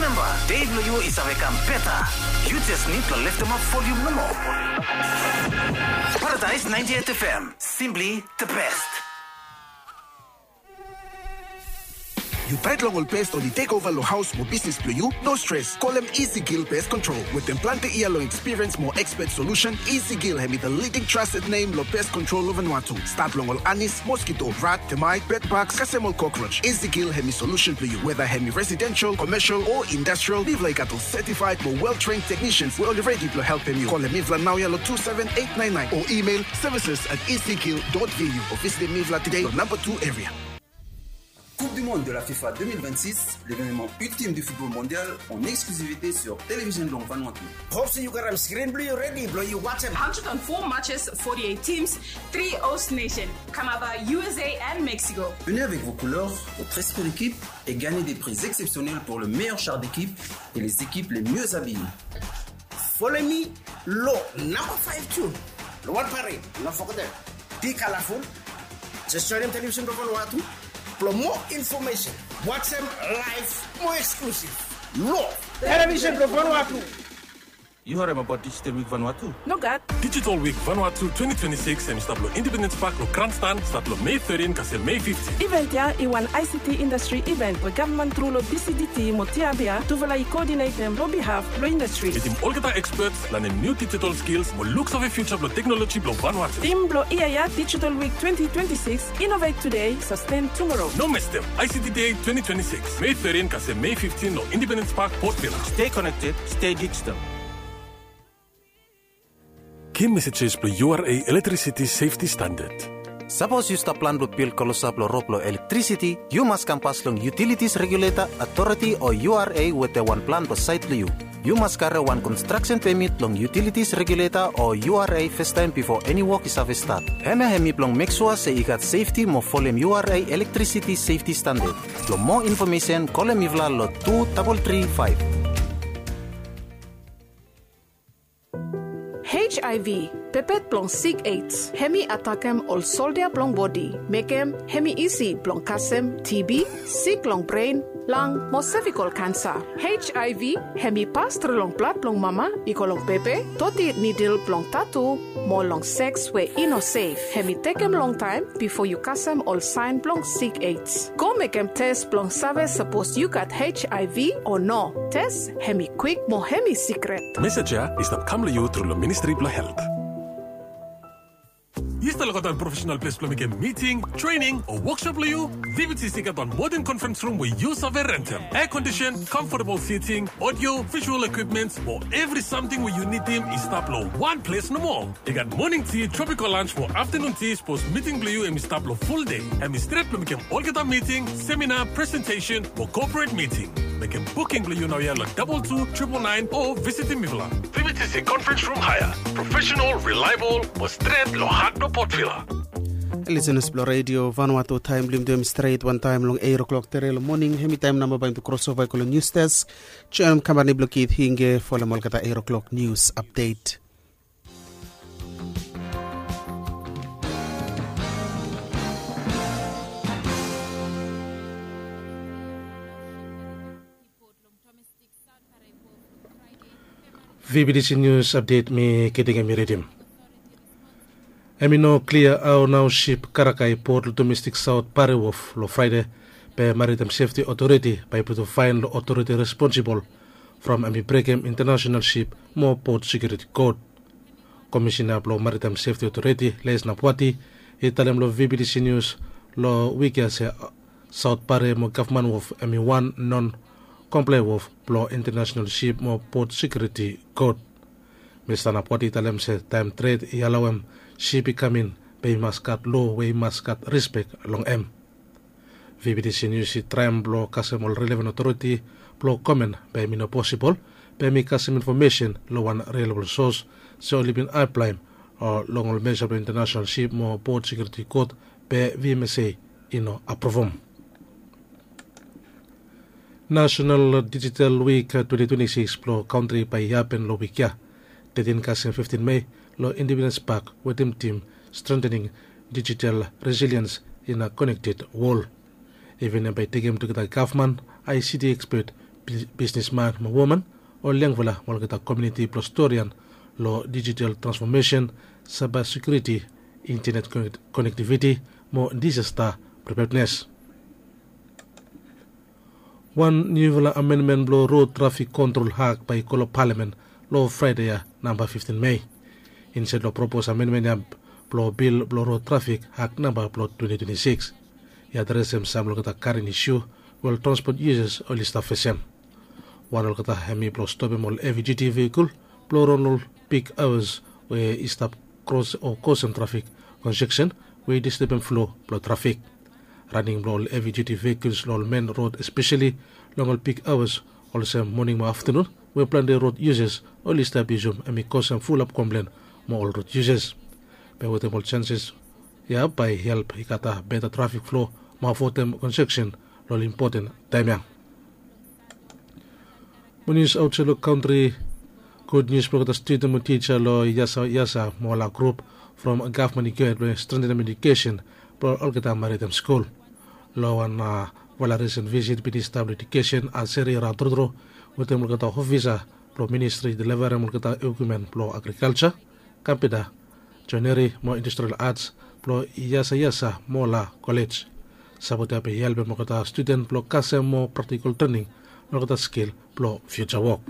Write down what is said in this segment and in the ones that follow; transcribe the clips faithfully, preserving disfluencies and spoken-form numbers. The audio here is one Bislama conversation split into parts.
Remember, dei blong yu i save kam beta. Yu jes nid blong leftemap volium nomo. Paradise ninety-eight F M, simply the best. Yu taet long ol pes oli tek ova long haos mo bisnis blong yu? No stres, kolem Easy Kill Pest Control. Wetem plante yia long ekspiriens mo ekspet solusen, Easy Kill hemi the leading trusted name long pest control long Vanuatu. Stat long ol anis, moskito, rat, temait, bedbaks, kasem ol kokroj. Easy Kill hemi solusen blong yu. Weda hemi residensel, komesel o indastral, mifala i gat ol setifaed mo wel tren teknisians we oli redi blong helpem yu. Kolem mifala naoia long two seven eight nine nine o imel services at easykill dot V U o visitem mifala tede long namba two eria. Coupe du Monde de la FIFA deux mille vingt-six, l'événement ultime du football mondial en exclusivité sur Télévision Blanc Vanuatu. Hope se yu gat skrin blong yu redi blong yu wajem. Hundred and four matches, forty-eight teams, three host nation, Canada, U S A and Mexico. Venez avec vos couleurs, votre esprit d'équipe et gagnez des prix exceptionnels pour le meilleur char d'équipe et les équipes les mieux habillées. Folem mi long namba five June long wan parade, no fogetem. Be colorful. Jes joenem Television blong Vanuatu blong moa infomesen. Wajem laev mo eksklusiv long Television blong Vanuatu. Yu harem abaot Digital Week Vanuatu? Nogat. Digital Week Vanuatu twenty twenty-six hemi stap long Independence Park long Grandstand, stat long Mei thirteen kasem Mei fifteen. Iven ya i wan I C T indastri iven we gavman tru long D C D T mo T R B R tufala i koodinetem long bihaf blong indastri. Mitim olgeta ekspets, lanem niu digital skils mo luksave fiuja blong teknoloji blong Vanuatu. Tim blong yia ya, Digital Week twenty twenty-six, innovate today, sustain tomorrow. No mestem, I C T Day twenty twenty-six, Mei thirteen kasem Mei fifteen long Independence Park, Port Vila. Stay connected, stay digital. Givim mesejes blong U R A Electricity Safety Standard. Sapos yu stap plan blong bil klosap long rod blong elektrisiti, yu mas kam pas long Utilities Regulator Authority o U R A wetem wan plan blong saet blong yu. Yu mas karem wan konstraksen pemit long Utilities Regulator o U R A fastaem bifo eni wok i save stat. Hemia hemi blong mek sua se i gat sefti mo folem U R A Electricity Safety Standard. Blong moa infomesen, kolem mifala long two double three five. H I V, pepet blong sik AIDS, hemi atakem ol soldia blong bodi, mekem hemi isi blong kasem T B, sik long bren, lang mo sevikol kansa. H I V hemi pas tru long blad blong mama i go long bebe, doti nidil blong tatu, mo long seks we i no sef. Hemi tekem longtaem bifo yu kasem ol saen blong sik AIDS. Go mekem tes blong save sapos yu gat H I V o no. Tes hemi kwik mo hemi sikret. Mesej ya i stap kam long yu tru long Ministri blong Helt. Yu stap lukautim wan profesenal ples blong mekem miting, trening o wokshop blong yu? V B T C i gat wan moden konferens rum we yu save rentem. Air condition, comfortable seating, audio, visual equipments mo evri samting we yu nidim i stap long wan ples nomo. I gat moning ti, tropical lunch mo aftanun ti sapos miting blong yu hemi stap long ful dei. Hemi stret blong mekem olgeta miting, semina, presentesen mo corporate miting. Mekem buking blong yu naoia long double two triple nine o visitim mifala. V B T C Conference Room Hire. Professional, reliable mo stret long hat blong Port Vila. Lisenas blong Redio Vanuatu, taem blong yumi tu hemi stret wantaem long eight o'clock tere long moning. Hemi taem nao bae yumi tu krosova i go long nius desk. Joenem kampani blong Kit Hinge folem olgeta eight o'clock nius apdet. V B T C Nius Apdet, mi Kit Hinge mi ridim. Hemi no klia hao nao sip karaka i pot long domestik Saot Pare Wof long Fraede, be Maritaem Sefti Otoriti bae i putum faen long otoriti responsibol from hemi brekem intanasenal sip mo pot sekiuriti kod. Komisena blong Maritaem Sefti Otoriti, Les Napwati, i talem long V B T C Nius long wik ya se Saot Pare mo Gavman Wof hemi wan non komplae wof blong intanasenal sip mo pot sekiuriti kod. Mista Napwati i talem se taem tred i alaoem sip i kam in, be i mas gat loa we i mas gat rispek long hem. V B T C Nius i traem blong kasem ol relevan otoriti blong komen, be hemi no posibol, be hemi kasem infomesen long wan reliabol sos se oli bin aplaem long ol mesa blong intanasenal sip mo pot sekiuriti kod, be V M S A i no apruvum. Nasenal Digital Week twenty twenty-six blong kantri bae i hapen long wik ya, thirteen kasem fifteen Mei, long Independence Park, wetem tim Strengthening Digital Resilience in a Connected World. Iven ya bae i tekem tugeta gavman, I C T ekspet, bisnisman mo woman, ol yangfala mo olgeta komiuniti blong storian long dijital transfomesen, saiba sekiuriti, intenet konektiviti mo disasta pripednes. Wan niufala amenmen blong rod trafik kontrol hak bae i go long palamen long fraede ya, namba fiftin mei, insaed long propos amenmen ya blong bil blong rod trafik hak namba blong twenti twenti sikis. I adresem sam long olgeta karen isu we ol transpot yusas oli stap fesem. Wan olgeta hem i blong stopem ol hevi duti vehikol blong ran long ol big aoas we i stap kros o kosem trafik konseksen we i distebem flo blong trafik. Raning blong ol hevi duti vehikels long ol men rod espeseli long ol big aoas olsem moning mo aftanun we plante rod yusas oli stap yusum hem i kosem fulap komplen mo ol rod yusas. Be wetem ol senses ya bae i help i gata beta trafik flo mo avoedem konseksen long ol impoten taem ya. Mo nius aotsaed long kantri. Gud nius blong olgeta studen mo tija long yasa yasa mo ola grup from gavman i gohed blong strentenem edukesen blong olgeta maritim skul. Long wan vala risen visit bin i stap long edukesen aseri raon trutru wetem olgeta ofisa blong ministri i delivarem olgeta ekumen blong agrikalja, kampita, joeneri mo industrial ats blong yasayasa mo ola kolej. Sapot ya bae i helpem olgeta studen blong kasem moa praktikol trening long olgeta skil blong fiuja wok.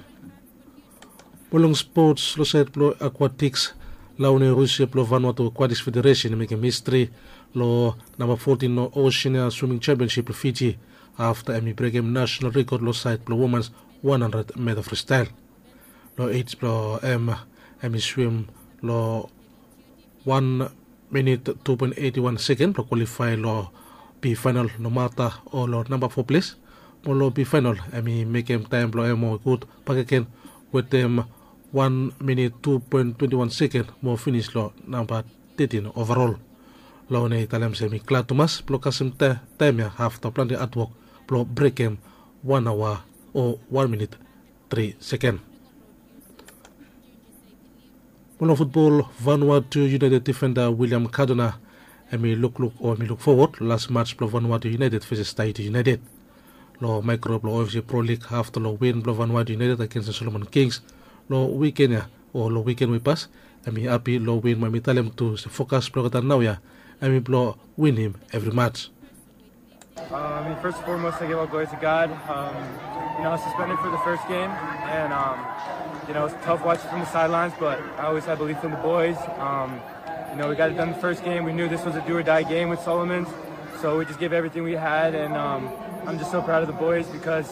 Mo long spots long saed blong akwatiks, laone rusia blong vanwatu akwatiks federesen i mekem histri long namba fotin long osean swiming sempionsip blong fiji afta hem i brekem nasenal rekod long saed blong womans wan handred meta fristael. Long ej blong hem hem i swim long wan minit tu poen eti wan seken blong kwalifae long bi faenal nomata o long namba fo ples. Mo long bi faenal hem i mekem taem blong hem moa gud bakegen wetem wan minit tu poen twenti wan seken mo finis long namba tetin ovarol. Laone i talem se hem i glad tumas blong kasem taem ya afta plante adwok blong brekem wan aoa o wan minit tri seken. Mo long futbol, vanwatu yunaeted difenda wiliam kadona hem i lukluk o hem i lukfowod long las mats blong vanwatu yunaeted veses taiti yunaeted long maekro blong ofisi prolik afta long win blong vanwatu yunaeted agens long solomon kings long wiken ya o long wiken we i pas. Hem i hapi long win mo hem i talem tu se fokas blong olgeta naoia hem i blong winim evri mats. Um, I mean, first and foremost, I give all glory to God. Um, you know, I was suspended for the first game, and um, you know, it's tough watching from the sidelines, but I always had belief in the boys. Um, you know, we got it done the first game. We knew this was a do or die game with Solomons, so we just gave everything we had, and um, I'm just so proud of the boys because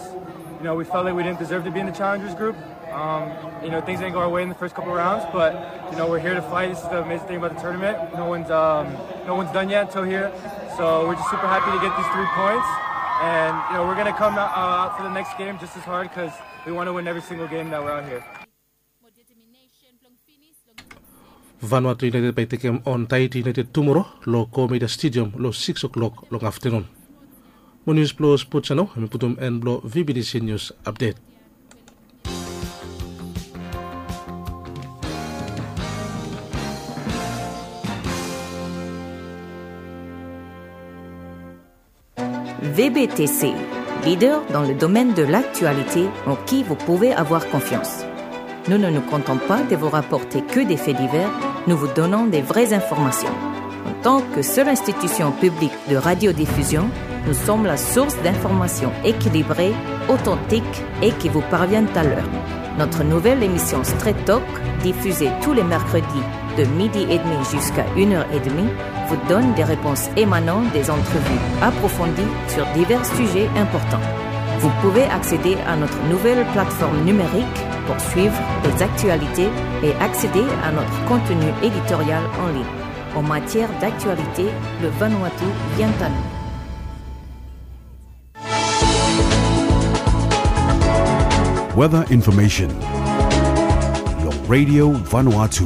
you know, we felt like we didn't deserve to be in the challengers group. Um, you know, things didn't go our way in the first couple rounds, but you know, we're here to fight. This is the amazing thing about the tournament. No one's um, no one's done yet until here. So we're just super happy to get these three points, and you know, we're gonna come out, uh, out for the next game just as hard because we want to win every single game that we're out here. Vanuatu United bae i tekem on Tahiti United tumora long Go Media Stadium long sikis o'clock long aftanun. Mo nius blong spots ya nao hemi putum en blong V B T C News Update. V B T C, leader dans le domaine de l'actualité en qui vous pouvez avoir confiance. Nous ne nous contentons pas de vous rapporter que des faits divers, nous vous donnons des vraies informations. En tant que seule institution publique de radiodiffusion, nous sommes la source d'informations équilibrées, authentiques et qui vous parviennent à l'heure. Notre nouvelle émission Straight Talk, diffusée tous les mercredis de midi et demi jusqu'à une heure et demie, vous donne des réponses émanant des entrevues approfondies sur divers sujets importants. Vous pouvez accéder à notre nouvelle plateforme numérique pour suivre les actualités et accéder à notre contenu éditorial en ligne. En matière d'actualité, le Vanuatu vient à nous. Weather information long Radio Vanuatu.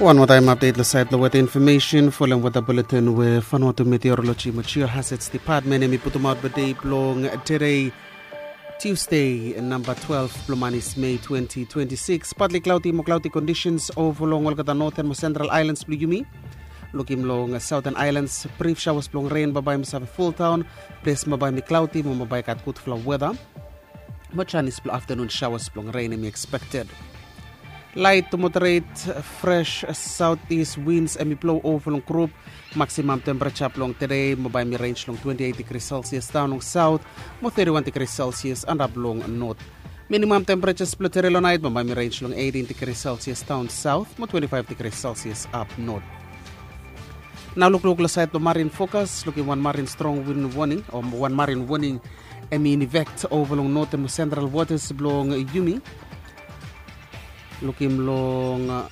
Wan moa taem update long sait blong weather information folem weather bulletin we Vanuatu Meteorology mo Geohazards Department hemi putumaot blong dei blong tede, Tuesday, namba twelve blong manis, May twenty twenty-six. Partly cloudy mo cloudy conditions over long olgeta northern mo central islands blong yumi. Lukim long Southern Islands, brif shawas blong ren bambae mi save fultaon, ples bambae mi klauti mo bambae gat gudfala weda. Mo janis blong aftanun shawas blong ren em i ekspekted. Lait to moderet fres saut is wins em i blo ova long grup. Maksimam tempereja blong tede bambae mi renj long twenti eit digri selsias daon long saut mo teti wan digri selsias antap long not. Minimam tempereja blong tede long nait bambae mi renj long eitin digri selsias daon saut mo twenti faiv digri selsias ap not. Nau lukluk long sait blong marin fokas, lukim wan marin strong win woning o wan marin woning em i inivekt ova long noten mo sentral wotas blong yumi. Lukim long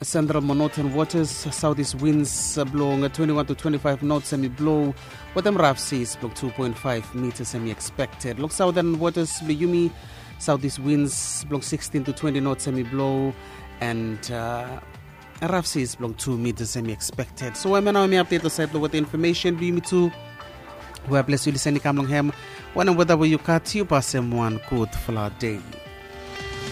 sentral mo noten wotas, sautis wins blong twenti wan to twenti faiv nots em i blo, wetem raf sis blong tu poen faiv mitas em i ekspekted. Long sauten wotas blong yumi, sautis wins blong sikstin to twenti nots em i blo, and raf sis blong tu mitas em i ekspekted. So em ya nau em i apdet long sait blong weta infomesen blong yumi tu. We ples yu lisen i kam long hem, wanem weda we yu gat, yu pasem wan gudfala dei.